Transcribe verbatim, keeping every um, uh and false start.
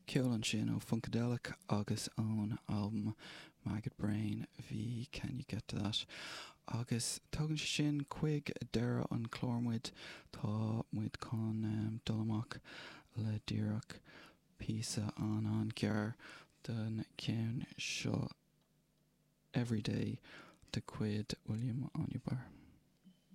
Ceol ansin ó Funkadelic agus ón albam Maggot Brain bhí Can You Get to That. Agus tugann sé sin chuig deireadh an chlár muid tá muid chun um, dul amach le díreach píosa an an-ghearr den ceann seo Everyday de chuid William Onyeabor.